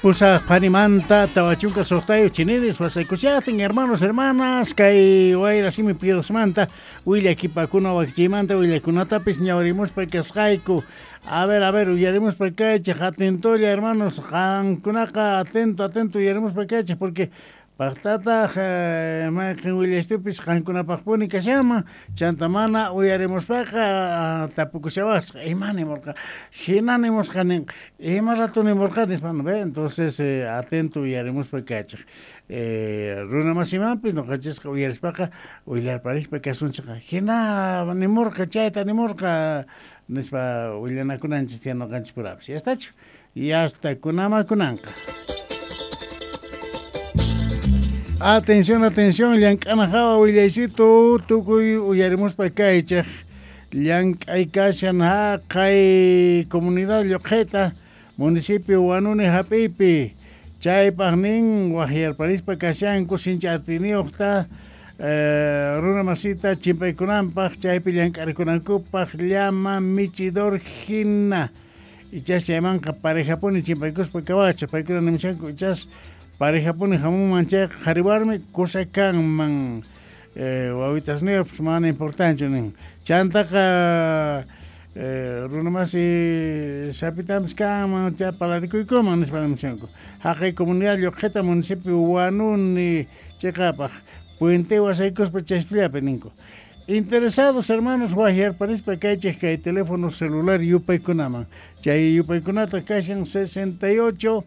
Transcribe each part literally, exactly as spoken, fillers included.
Pusaq phanimanta tawa chunka suqtayuq chiniris wasaykuchaqtin hermanos hermanas kay wayra simi piedosmanta willakipakuna wakichiymanta willakunatapis ñawrimuspa kasqayku. A ver, a ver, uyarimuspa kaychik atentolla hermanos, qankunaqa atento, atento uyarimuspa kaychik porque paqtataq mayqin willaystupis qankunapaqpuni kashanman chanta mana uyarimuspaqa tapukushawasqa ima nimurqa hina nimusqa nin ima rato nimurqa nispa no ve entonces eh, atento uyarimuspa kaychik eh, runa masimanpis nuqanchisqa uyarispaqa willarparispa kasunchikqa hina nimurqa chayta nimurqa nispa willanakunanchik tiyan nuqanchik purapis ya estachu ya hasta kunamakunanqa. Atención, atención, llank'ana hawa willaysitu tukuy uyarimuspa kaychik llank'ay kashan haqay comunidad Lluqhita municipio Huanuni hap'iypi chaypaq nin waqyarparispa kashanku sinchi atiniyuqta eh, runa masita chimpaykunanpaq chaypi llank'arikunankupaq llama michidor hina ichas chaymanqa parejapuni chimpaykuspa kawachik paykuna nimushanku ichas parejapuni hamunman chayqa qhari warmi kusa kanman eh, wawitasniyuqpis mana importante nin chantaqa eh, runamasi sapitampis kanman chay palarikuykuman nispa nimushanku haqay comunidad Lluqhita municipio Huanuni chiqapaq puente wasaykuspa chaypillapi ninku. Interesados hermanos waqyarparispa kaychik kay teléfono celular yupaykunaman chay yupaykunata kashan sesenta y ocho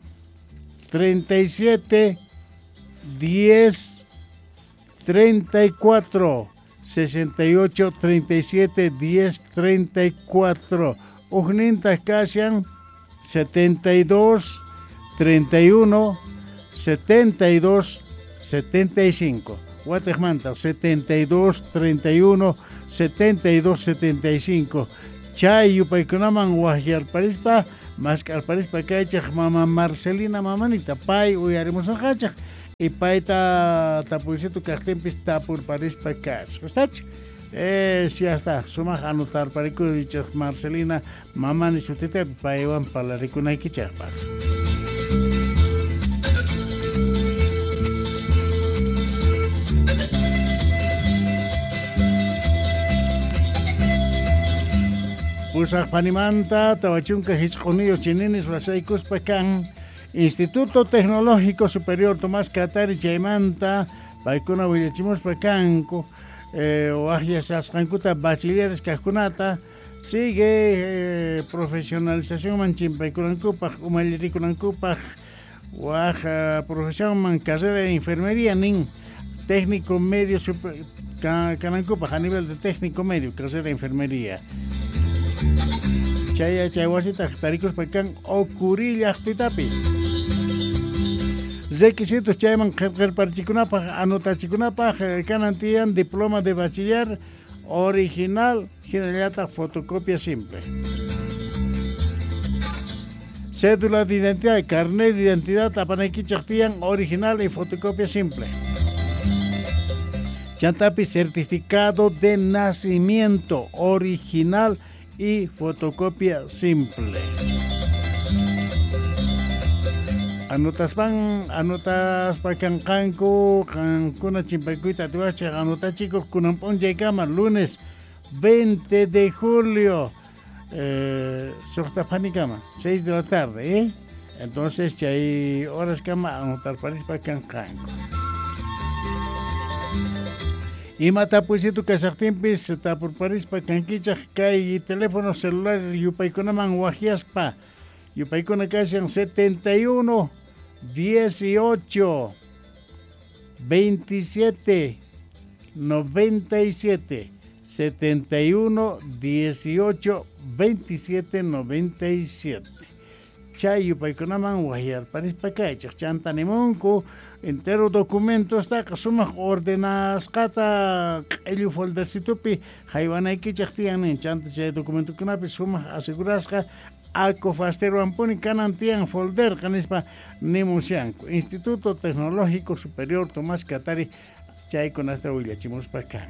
treinta y siete diez treinta y cuatro sesenta y ocho treinta y siete diez treinta y cuatro ujnintas kashan setenta y dos treinta y uno setenta y dos setenta y cinco Guatemala setenta y dos treinta y uno setenta y dos setenta y cinco chay yupaykunaman waqyarparispa maskarparispa kaychik mama Marcelina mamanita pay uyarimusunqachik y payta tapuysitu kaqtinpis tapurparispa kachik ¿estachu? Eh, si ya está, sumaq anotarparikuychik Marcelina mamani sutita paywan parlarikunaykichispa. Pusaq phanimanta tawa chunka hichq'uniyuq chininis wasaykuspa kan Instituto Tecnológico Superior Tomás Katari chaymanta paykuna willachimuspa kanku eh, waqyasqankuta bachilleres kaqkunata sigue eh, profesionalizacionman chimpaykunankupaq umallirikunankupaq waq profesionman carrera de enfermería nin técnico medio super, kanankupaq a nivel de técnico medio carrera de enfermería. Chay chay wasita tarikuspa kan Ocurí llaqtitapi. Requisitos chayman qillqarparichikunapaq anotachikunapaq kanan tiyan diploma de bachiller original hinallataq fotocopia simple. Cédula de identidad, carnet de identidad apanaykichaq tiyan original y fotocopia simple. Chantapi certificado de nacimiento original y fotocopia simple. Anotaspan, anotaspa kanqanku, qankuna chimpaykuyta atiwachik anotachikuq kunan p'unchaykama lunes veinte de julio eh, suqta phanikama, seis de la tarde, ¿eh? Entonces chay horas kama anotarparispa kanqanku. Ima tapuysitu kashaqtinpis tapurparispa kankichaq kay teléfono celular yupaykunaman waqyaspa yupaykuna kashan setenta y uno dieciocho veintisiete noventa y siete setenta y uno dieciocho veintisiete noventa y siete chay yupaykunaman waqyarparispa kaychaq chanta nimunku entero documentos taqa sumaq ordenasqata q'illu foldercitupi haywanaykichaq tiyan nin chanta chay documentokunapi sumaq asegurasqa acofasterwanpuni kanan tiyan folderqa nispa nimushanku Instituto Tecnológico Superior Tomás Katari chaykunata willachimuspa kan.